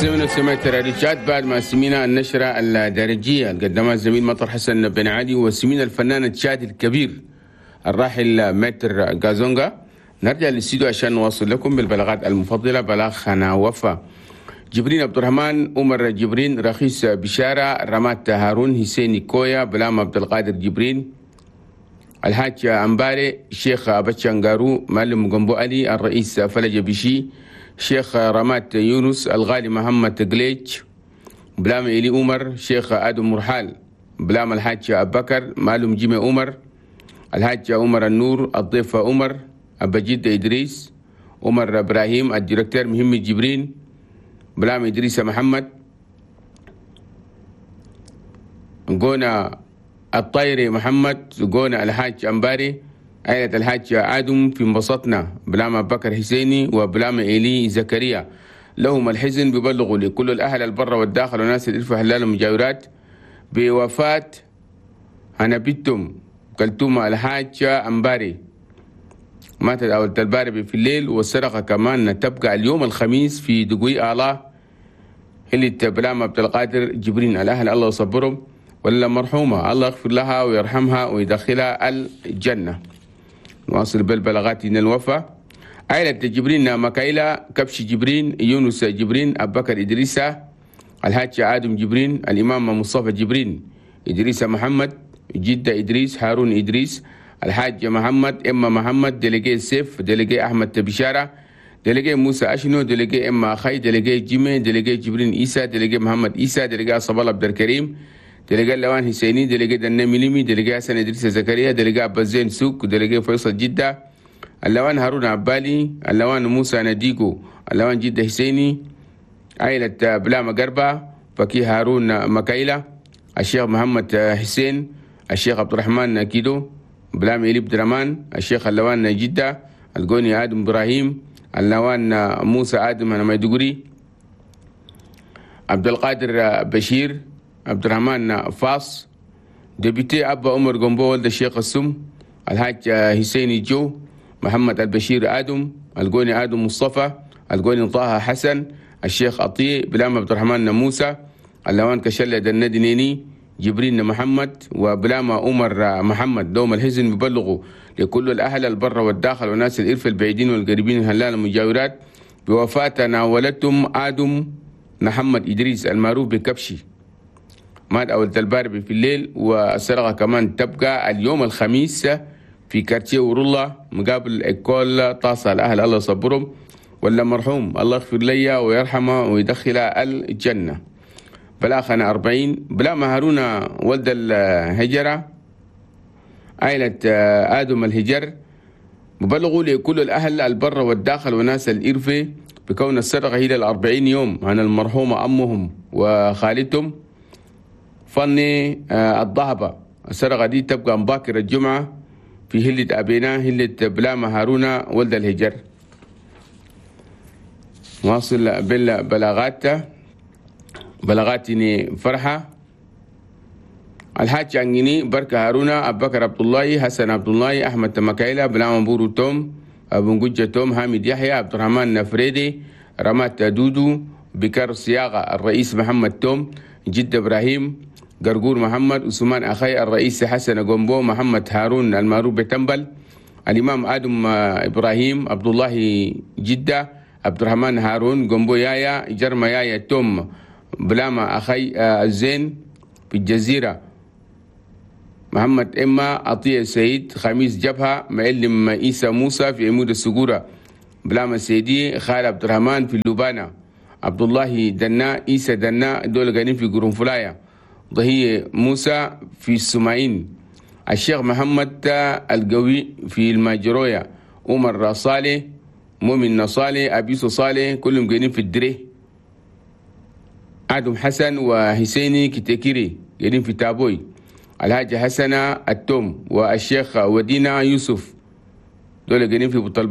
سمعنا سمعت راديو تشاد بعد ما سمينا النشرة الدرجية اللي قدمها الزميل مطر حسن بن علي وسمينا الفنان التشادي الكبير الراحل متر غازونغا. نرجع للاستديو عشان نواصل لكم بالبلاغات المفضلة. بلاغ خنا وفا جبرين عبد الرحمن، عمر جبرين، رخيص بشارة، رمات هارون، حسين كويا، بلام عبد القادر جبرين، الحاج أمباري، شيخ أبتشانغارو، معلم جنبو علي، الرئيس فلج بشي، شيخ رمات يونس، الغالي محمد قليج، بلام إلي عمر، شيخ آدم مرحال، بلام الحاج أبو بكر، معلم جيمي عمر، الحاج عمر النور، الضيف عمر، أبجد إدريس، عمر إبراهيم، الديركتور مهم جبرين، بلام إدريس محمد، قونا الطيري محمد، قونا الحاج أمباري، عائلة الحاج آدم في انبسطنا، بلام أبو بكر حسيني وبلام إيلي زكريا. لهم الحزن ببلغوا لكل الأهل البر والداخل وناس الإلف حلال المجاورات بوفاة هنبتم كلتوم الحاج أمباري، ماتت أول الباري في الليل. والسرقة كمان تبقى اليوم الخميس في دقوي آلا اللي بلام عبد القادر جبرين. الأهل الله يصبرهم، ولا مرحومة الله يغفر لها ويرحمها ويدخلها الجنة. نواصل بالبلاغات من الوفاة. عائلة جبرين مكايلة، كبش جبرين، يونس جبرين، أبو بكر إدريسة، الحاج آدم جبرين، الإمام مصطفى جبرين، إدريس محمد، جدة إدريس، هارون إدريس، الحاج محمد، إما محمد، délégué سيف، délégué أحمد بشارة، délégué موسى أشنو، délégué إما أخي، délégué جيمي، délégué جبرين إيسا، délégué محمد إيسا، délégué صبال عبد الكريم، délégué لوان حسيني، délégué دنا مليمي، délégué حسن إدريس زكريا، délégué عبد الزين سوق، délégué فيصل جدة، اللوان هارون عبالي، اللوان موسى نديكو، اللوان جدة حسيني، عائلة بلاما قربة، فكي هارون مكايلة، الشيخ محمد حسين، الشيخ عبد الرحمن كيدو، بلام إلي بدرمان، الشيخ اللوان جدة، القوني آدم إبراهيم، اللوان موسى آدم ميدقري، عبد القادر بشير، عبد الرحمن فاص، député أبا عمر قنبو ولد الشيخ السم، الحاج حسيني جو، محمد البشير آدم، القوني آدم مصطفى، القوني طه حسن، الشيخ عطية، بلام عبد الرحمن موسى، اللوان كشلة الندنيني، جبرين محمد، وبلاما عمر محمد. دوم الحزن ببلغوا لكل الأهل البر والداخل وناس الإرف البعيدين والقريبين الهلال المجاورات بوفاة ناولتهم آدم محمد إدريس المعروف بكبشي، مات أول الباربي في الليل. والسرقة كمان تبقى اليوم الخميس في كارتيه ورولا مقابل إيكول طاسة. الأهل الله يصبرهم، ولا مرحوم الله يغفر لي ويرحمه ويدخله الجنة. بلاخنا 40 بلا هارون ولد الهجرة، عائلة آدم الهجر، مبلغوا لكل الأهل البر والداخل وناس الإرفة بكون السرقة هي 40 يوم عن المرحومة أمهم وخالتهم فني الضهبة. السرقة دي تبقى مباكر الجمعة في هلة أبينا هلة بلاما هارون ولد الهجر. واصل بالبلاغات. بلغاتني فرحة الحاج عنيني بركة هارون، أبو بكر عبد الله، حسن عبد الله، أحمد مكايلة، بلام بورو توم، أبو نجة توم، حامد يحيى، عبد الرحمن نفريدي، رمات دودو، بكر صياغة، الرئيس محمد توم، جد إبراهيم، قرقور محمد، عثمان أخي، الرئيس حسن جومبو، محمد هارون المعروف بتنبل، الإمام آدم إبراهيم، عبد الله جدة، عبد الرحمن هارون، جومبو يايا، جرما يايا توم، بلاما أخي الزين في الجزيرة، محمد إما، عطية سعيد، خميس جبهة، معلم عيسى موسى في عمود السجورة، بلاما سيدي، خالد عبد الرحمن في اللبانة، عبد الله دنا، عيسى دنا، دول قاعدين في قرنفلايا، ضهية موسى في السماعين، الشيخ محمد القوي في الماجرويا، عمر صالح، مؤمن صالح، أبيسو صالح، كلهم قاعدين في الدري، آدم حسن وحسيني كتكيري قاعدين في تابوي، الحاج حسنة التوم والشيخ ودينا يوسف دول قاعدين في بطل.